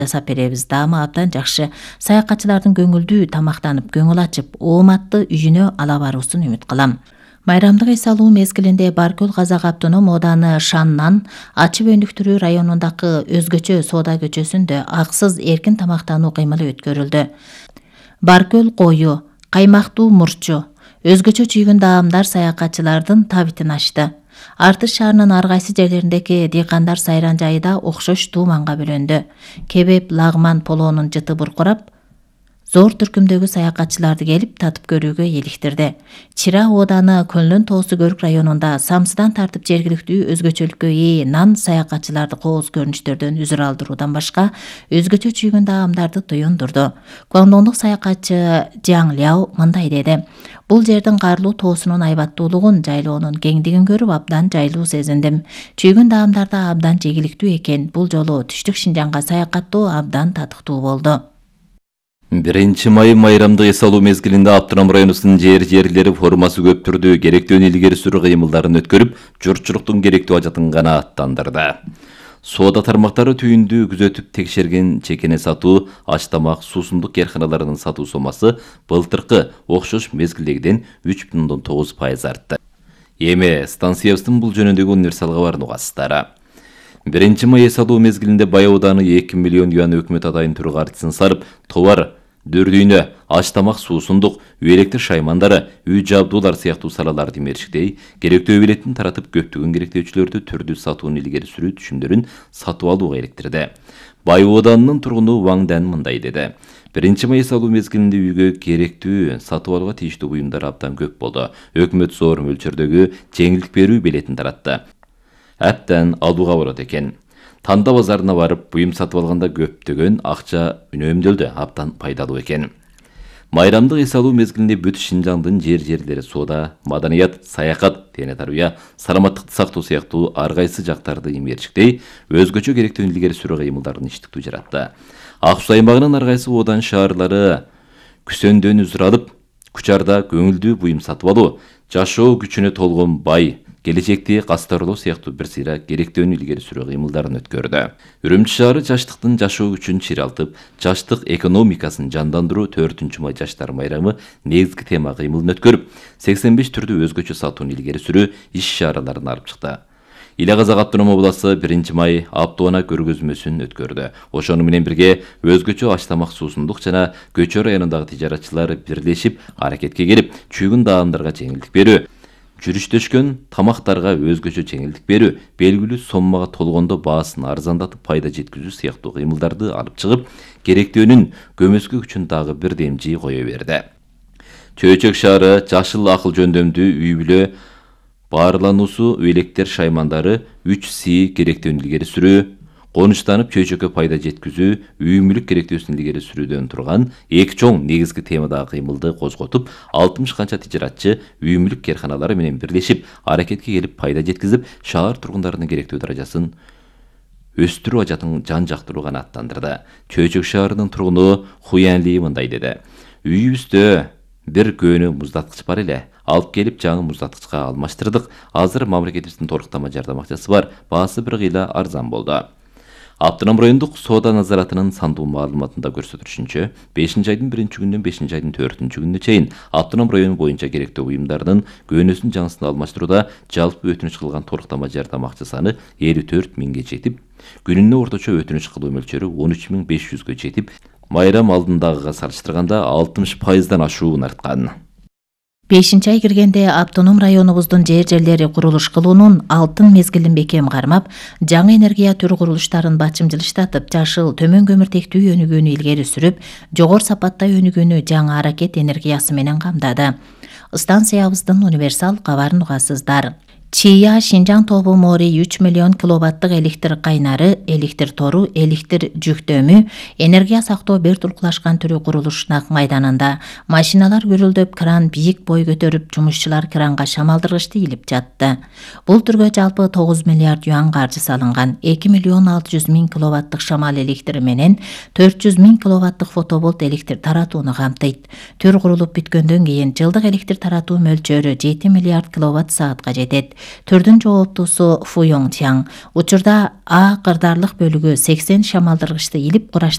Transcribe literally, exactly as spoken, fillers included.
жасап беребиз. Даамы абдан жакшы. Саякатчылардын көңүлдүү тамактанып, көңүл ачып, ооматты үйүнө ала баруусун үмүт кылам. Майрамдык эс алуу мезгилинде Баркөл Казак автоном ооданы Шаннан Ачы Бөндүктүрүү районундагы өзгөчө соода көчөсүндө аксыз эркин тамактануу кыймылы өткөрүлдү. Баркөл кою, каймактуу мурчу, өзгөчө чүйгүн даамдар саякатчылардын табитин ачты. Артыш шаарынын ар кайсы жерлериндеги дыйкандар сайран жайы да окшош тууманга бөлөндү. Кебеп, лагман, полоонун жыты буркурап, зор түркүмдөгү саякатчыларды келип татып көрүүгө эликтирди. Чира ооданы Көлнөн Тоосу Көрүк районунда самсыдан тартып жергиликтүү өзгөчөлүккө ээ нан саякатчыларды кооз көрүнүштөрдөн үзүр алдыруудан башка өзгөчө чүйгүн даамдарды туюндурду. Гуандондук саякатчы Жаң Ляо мындай деди: Бул жердин карлуу тоосунун айбаттуулугун, жайлоонун кеңдигин көрүп абдан жайлуу сезиндим. Чүйгүн даамдар да абдан жегиликтүү экен. Бул жолу түштүк Шинжаңга саякаттоо абдан татыктуу болду. биринчи май майрамдык эс алуу мезгилинде Автоном районунун жер жерлери формасы көп түрдүү керектүүнү илгери сүрүү кыймылдарын өткөрүп, журтчулуктун керектүү ажатын гана аттандырды. Соода тармактары түйүндү күзөтүп текшерген чекене сатуу, аш тамак, суусундук кээрканаларынын сатуу сомасы былтыркы окшош мезгилдегиден үч бүтүн ондон тогуз пайыз артты. Эми станциябыздын бул жөнүндөгү универсал кабарын угасыздар. биринчи май эс алуу мезгилинде Бай ооданы эки миллион юан өкмөт атайын түрү картисын сарып, товар, дөрдүйнө, аш тамак, суусундук, үй электр шаймандары, үй жабдуулар сыяктуу салаларды мерчиктей, керектүү билетин таратып көптөгөн керектөөчүлөрдү түрдүү сатууну илгери сүрүү түшүмдөрүн сатып алууга иликтирди. Бай ооданынын тургуну Ваң Дан мындай деди: биринчи май эс алуу мезгилинде үйгө керектүү сатып алууга тийиштүү буюмдар абдан көп болду. Өкмөт зор мөлчөрдөгү жеңилдик берүү билетин таратты. Әптен алууга болот экен. Танда базарына барып, буюм сатып алганда көптөгөн акча үнөмдөлдү, абдан пайдалуу экен. Майрамдык эс алуу мезгилинде бүт Шинжаңдын жер жерлери соода, маданият, саякат, дене тарбия, саламаттыкты сактоо сыяктуу ар кайсы жактарды имерчиктей, өзгөчө керектүүнү илгери сүрүү кыймылдарын иштиктүү жаратты. Ак Суу аймагынын ар кайсы оодан шаарлары күсөндөн үзүр алып, Кучарда көңүлдүү буюм сатып алуу, жашоо күчүнө толгон бай, келечекти кастарлоо сыяктуу бир сыйра керектүүнү илгери сүрүү кыймылдарын өткөрдү. Үрүмчү шаары жаштыктын жашоо күчүн чиралтып, жаштык экономикасын жандандыруу төртүнчү май жаштар майрамы негизги тема кыймылын өткөрүп, сексен беш түрдүү өзгөчө сатууну илгери сүрүү иш-чараларын алып чыкты. Иле Казак автоном обласы биринчи май автоунаа көргөзмөсүн өткөрдү. Ошону менен бирге өзгөчө аш тамак, суусундук жана Көчө районундагы тижаратчылар бирлешип аракетке келип, чүйгүн даамдарга жеңилдик берүү, жүрүштөшкөн тамактарга өзгөчө жеңилдик берүү, белгилүү соммага толгондо баасын арзандатып пайда жеткизүү сыяктуу кыймылдарды алып чыгып, керектүүнүн көмөскө күчүн дагы бир демжи кое берди. Чөйчөк шаары жашыл акыл жөндөмдүү үй бүлө баарлануусу, электр шаймандары, үч си керектүүнү илгери сүрүү, конуштанып чөйчөккө пайда жеткизүү, үй мүлүк керектүүсүн илгери сүрүүдөн турган эки чоң негизги темадагы кыймылды козготуп, алтымыш канча тижаратчы үй мүлүк кээрканалары менен бирлешип аракетке келип пайда жеткизип, шаар тургундарынын керектүү даражасын өстүрүү ажатын жан жактыруу гана аттандырды. Чөйчөк шаарынын тургуну Хуян Ли мындай деди: үйүбүздө бир көөнү муздаткыч бар эле. Алып келип жаңы муздаткычка алмаштырдык. Азыр мамлекетибиздин толуктама жардам акчасы бар. Баасы бир кыйла арзан болду. Автоном райондук соода назаратынын сандуу маалыматында көрсөтүлүшүнчө, бешинчи айдын биринчи күнүнөн бешинчи айдын төртүнчү күнүнө чейин автоном району боюнча керектүү буюмдардын көөнөсүн жаңысын алмаштырууда жалпы өтүнүч кылган толуктама жардам акча саны элүү төрт миңге жетип, күнүнө орточо өтүнүч кылуу мөлчөрү он үч миң беш жүзгө жетип, майрам алдындагыга салыштырганда алтымыш пайыздан ашуун арткан. бешинчи ай киргенде автоном районубуздун жер жерлери курулуш кылуунун алтын мезгилин бекем кармап, жаңы энергия түрү курулуштарын бачымжылыштатып, жашыл төмөн көмүртектүү өнүгүүнү илгери сүрүп, жогору сапатта өнүгүүнү жаңы аракет энергиясы менен камдады. Станциябыздын универсал кабарын угасыздар. Чия Шинжаң тобу Мори үч миллион киловаттык электр кайнары, электр тору, электр жүктөмү, энергия сактоо бир туркулашкан түрү курулушунак майданында. Машиналар гүрүлдөп, кран бийик бой көтөрүп, жумушчулар кранга шамалдыргычты илип жатты. Бул түргө жалпы тогуз миллиард юан каржы салынган. эки миллион алты жүз миң киловаттык шамал электри менен төрт жүз миң киловаттык фотоболт электр таратууну камтыйт. Түр курулуп бүткөндөн кийин жылдык электр таратуу мөлчөрү жети миллиард киловатт саатка жетет. Түрдүн жооптуусу Фу Йонг Чаң. Учурда А кырдаарлык бөлүгү сексен шамалдыргычты илип кураш